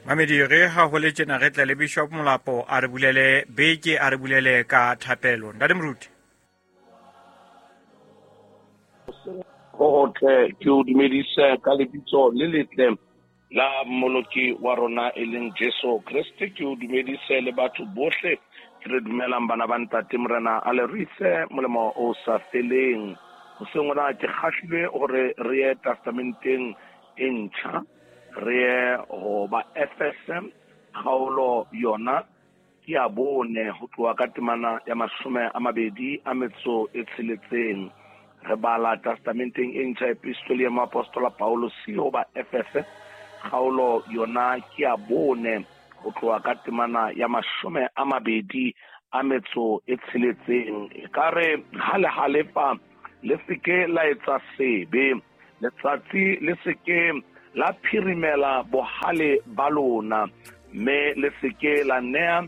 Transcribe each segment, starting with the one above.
Mamedi re ha ho le tjena re tle le Bishop Molapo a re bulele beke, a re bulele ka thapelo. Ntate Moruti. Ho hotle ke o dumedise ka lebitso le letle la Mmoloki wa rona e leng Jesu Kreste. Ke o dumedise le batho bohle ke re dumelang bana ba ntate. Morena a le ruise molemo o sa feleng. Hoseng hona ke kgahlilwe hore re ye testamenteng e ntjha, re ye ho ba Efese kgaolo yona ke ya 4 ho tloha ka temana ya 26. Re bala testamenteng e ntjha epistoli ya moapostola Paulus ho ba Efese kgaolo yona ke ya 4 ho tloha ka temana ya 26. E ka re ha le halefa le seke la etsa sebe, letsatsi le seke la phirimela bohale ba lona, mme le seke la nea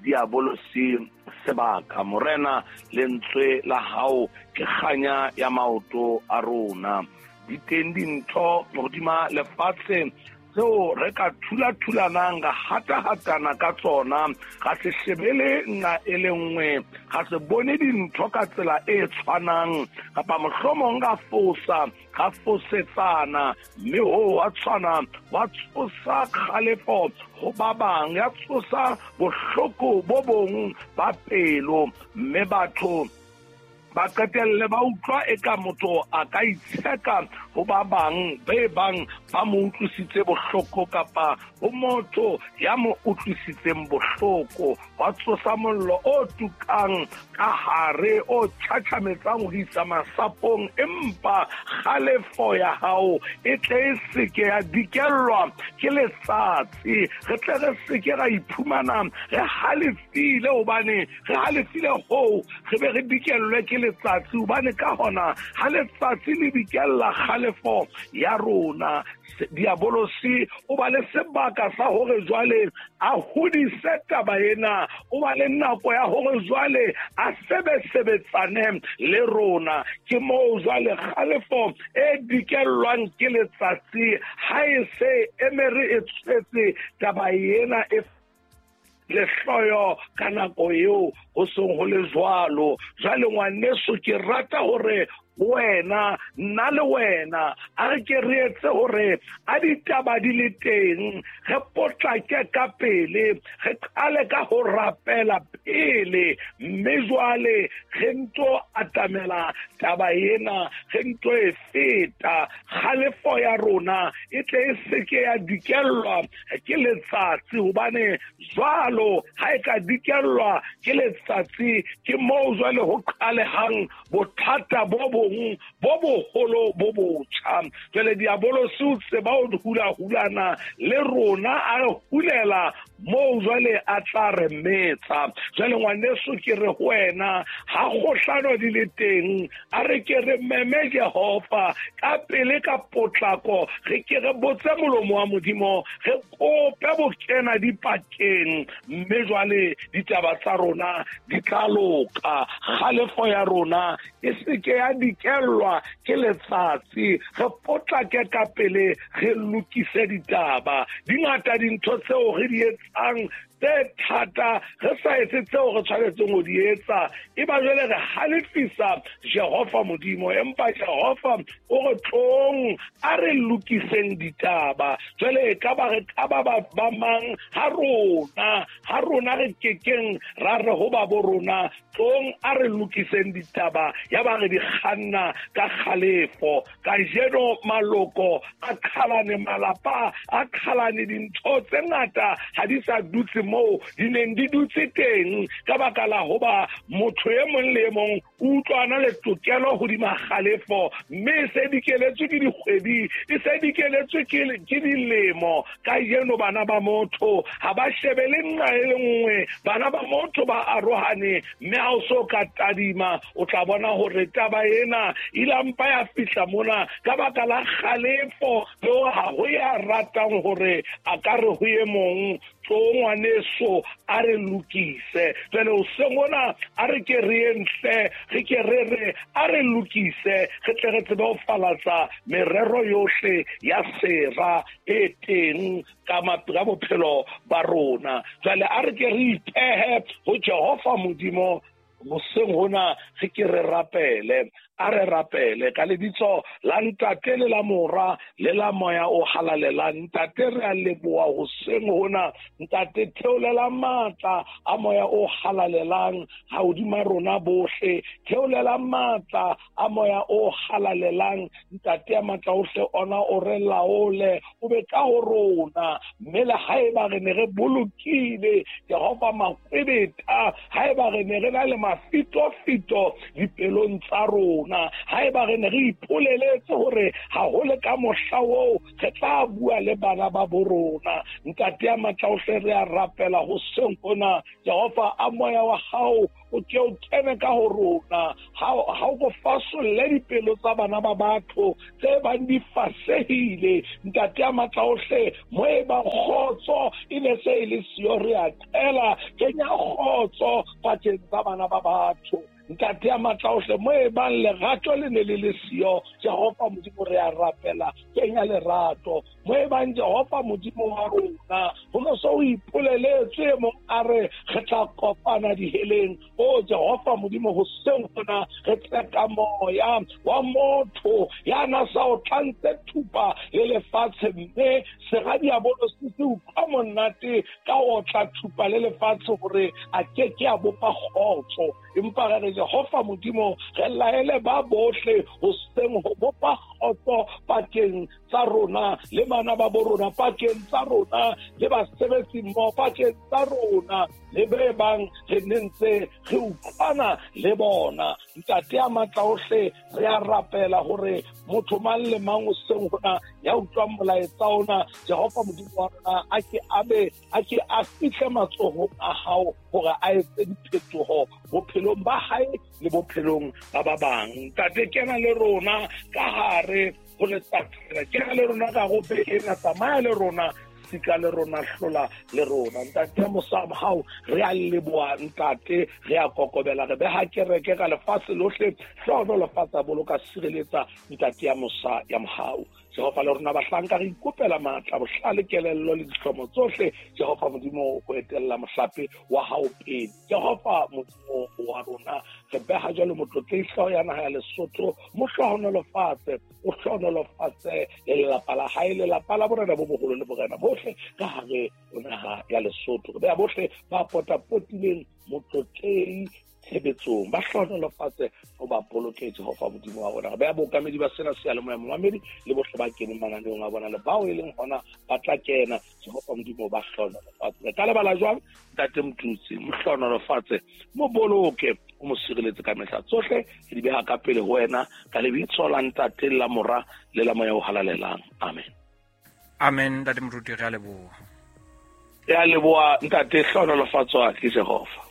diabolosi sebaka. Morena, lentswe la hao ke kganya ya maoto a rona. Di teng dintho hodima lefatshe tseo re ka thula-thulanang, ra hata-hatana ka tsona, ga se shebele nna e le nngwe, ga se bone dintho ka tsela e tshwanang, kapa mohlomong ra fosa, ra fosetsana, mme hoo wa tshwana wa tsosa kgalefo ho ba bang, ya tsosa bohloko bo bong ba pelo, mme batho ba qetelle ba utlwa eka motho a ka itsheka ho ba bang be bang ba mo utlwisitse bohloko, kapa ho motho ya mo utlwisitseng bohloko. Wa tsosa mollo o tukang ka hare, o tjhatjhametsang ho isa masapong, empa kgalefo ya hao e tle e seke ya dikellwa ke letsatsi. Re tle re seke ra iphumana re halefile, hobane re halefile hoo re be re dikellwe ke letsatsi, hobane ka hona ha letsatsi le dikella kgalefo ya rona, diabolosi o ba le sebaka sa hore jwale a hodise taba ena, o ba le nako ya hore jwale a sebesebetsane le rona. Ke moo jwale kgalefo e dikellwang ke letsatsi ha e se emere e tshwetse taba ena e lehloyo ka nako eo ho seng ho le jwalo. Jwale ngwaneso, ke rata hore wena, nna le wena, a re ke re etse hore a ditaba di le teng, re potlake ka pele, re qale ka ho rapela pele, mme jwale re nto atamela taba ena, re nto e feta. Kgalefo ya rona e tle e seke ya dikellwa ke letsatsi, hobane jwalo ha e ka dikellwa ke letsatsi, ke moo jwale ho qalehang bothata bo bong bo boholo bo botjha. Jwale diabolosi o tseba ho hula-hulana le rona, a re hulela moo jwale a tla re metsa. Jwale ngwaneso, ke re ho wena, ha kgohlano di le teng, a re ke re meme Jehova ka pele ka potlako, re ke re botse molomo wa Modimo, re kope bokena dipakeng, mme jwale ditaba tsa rona di tla loka. Kgalefo ya rona e seke ya dikellwa ke letsatsi, re potlake ka pele, re lokise ditaba. Di ngata dintho tseo re di etsang tse thata, re sa etse tseo re tshwanetseng ho di etsa, e ba jwale re halefisa Jehova Modimo. Empa Jehova o re tlong a re lokiseng ditaba. Jwale e ka ba re ka ba ba mang ha rona re kekeng ra re ho ba bo rona, tlong a re lokiseng ditaba, ya ba re di kganna ka kgalefo. Kajeno maloko a qhalane, malapa a qhalane, dintho tse ngata ha di sa dutse moo di neng di dutse teng, ka baka la hoba motho e mong le e mong o utlwana le tokelo hodima kgalefo, mme e se dikeletswe ke dikgwedi, e se dikeletswe ke dilemo. Kajeno bana ba motho ha ba shebele nqa e le nngwe, bana ba motho ba arohane, mme ha o so ka tadima o tla bona hore taba ena ilampa ya fihla mona ka baka la kgalefo, le hore ha ho ya ratang hore a ka re ho e mong. Tlo ngwaneso, a re lokise. Jwale hoseng hona a re ke re ye ntle, re ke re re a re lokise, re tle re tsebe ho falatsa merero yohle ya sera e teng ka bophelo ba rona. Jwale a re ke re ipehe ho Jehova Modimo hoseng hona, re ke re rapele. A re rapele ka lebitso la Ntate le la Mora le la Moya o Halalelang. Ntate, re a leboha hoseng hona. Ntate, theolela matla a Moya o Halalelang hodima rona bohle. Theolela matla a Moya o Halalelang. Ntate ya matla ohle, ona o re laole, o be ka ho rona. Mme le haeba re ne re bolokile Jehova makwebeta, haeba re ne re na le mafitofito dipelong tsa rona, haeba re ne re ipoleletse hore ha ho le ka mohla oo re tla bua le bana ba bo rona, Ntate ya matla ohle, re a rapela hoseng hona. Jehova, a moya wa hao o ke o kene ka ho rona, ha o go fasolle dipelo tsa bana ba batho tse bang di fasehile. Ntate ya matla ohle, mo e bang kgotso e ne se e le siyo, re a qela, kenya kgotso pakeng tsa bana ba batho. Ntate ya matla ohle, mo e bang lerato le ne le le siyo, Jehova Modimo, re a rapela, kenya lerato. Mo e bang Jehova Modimo wa rona, ho no so o ipoleletse mong a re re tla kopana diheleng. O Jehova Modimo, hoseng hona re tle ka moya wa motho ya na sa o tlantse thupa le lefatshe, mme sera diabolo se se utlwa monate ka o tla thupa le lefatshe hore a ke ke a bopa kgotso. Empa re re Jehova Modimo, re laele ba bohle hoseng ho bopa kgotso pakeng tsa rona le bana ba bo rona, pakeng tsa rona le basebetsi mmoho, pakeng tsa rona le be bang re ne ntse re utlwana le bona. Ntate ya matla ohle, re a rapela hore motho mang le mang hoseng hona ya utlwang molaetsa ona, Jehova Modimo wa rona, a ke a be a ke a fihle matsohong a hao hore a etse diphetoho bophelong ba hae le bophelong ba ba bang. Ntate, kena le rona ka hare ho letsatsi, kena le rona ka go ena, tsamaya le rona, sika le rona, hlola le rona. Ntate ya mosa wa hao, re a leboha. Ntate, re a kokobela, re beha kereke ka lefatshe lohle, hlohonolofatsa, boloka, sireletsa, Ntate ya mosa ya mohau. Jehova, le rona bahlanka re ikopela matla, bohlale, kelello le dihlomo tsohle, Jehova Modimo, ho etella mohlape wa hao pele. Jehova Modimo wa rona, re beha jwalo motlotlehi hlooho ya naha ya Lesotho, mo hlohonolofatse, o hlohonolofatse le lelapa la hae, lelapa la borena bo boholo le borena bohle ka hare ho naha ya Lesotho. Re beha bohle ba potapotileng motlotlehi tshebetsong, ba hlohonolofatse, o ba boloke, Jehova Modimo wa rona. Re beha bookamedi ba sena seyalemoya, momamedi le bohle ba keneng mananeong a bona le bao e leng hona ba tla kena, Jehova Modimo, ba hlohonolofatse. Re ka lebala jwang Ntate Motutsi? Mo hlohonolofatse, mo boloke, o mo sireletse ka mehla tsohle. Re di beha ka pele ho wena ka lebitso la Ntate, la Mora le la Moya o Halalelang. Amen. Amen. Ntate Moruti, re a leboha. Re a leboha Ntate, hlohonolofatswa ke Jehova.